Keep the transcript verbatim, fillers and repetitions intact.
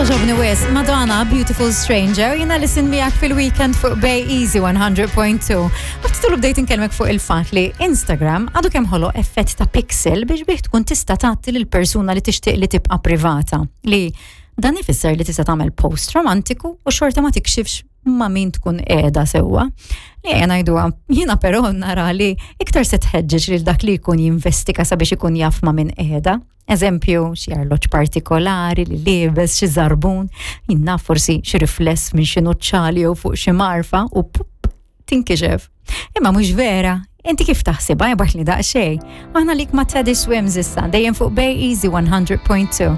Għoġobni wisq, Madonna, Beautiful Stranger, jiena listen miegħek fil-weekend fuq Bay Easy one hundred point two. Ftit ilu bdejt inkellmek fuq il-fat li Instagram għadu kemm ħoloq effett ta' pixel biex bih tkun tista' tagħti lil persuna li tixtieq li tibqa' privata. Li dan ifisser li tista' tagħmel post romantiku u xorta ma tikxifx ma' min tkun qiegħda sewwa. Li ejja ngħiduha, jiena però nara li iktar se tħeġġeġ lil dak li jkun jinvestiga sabiex ikun jaf ma' min qiegħda. Eżempju, xi arloġġ partikolari li liebes, xi żarbun, jien naf, forsi xi rifless minn xi nuċċali jew fuq xi marfa u pup, tinkixef. Imma mhux vera, inti kif taħsibha? Ibgħatli daqsxejn. Aħna lik ma' Teddy Swims issa, dejjem fuq Bay Easy one hundred point two.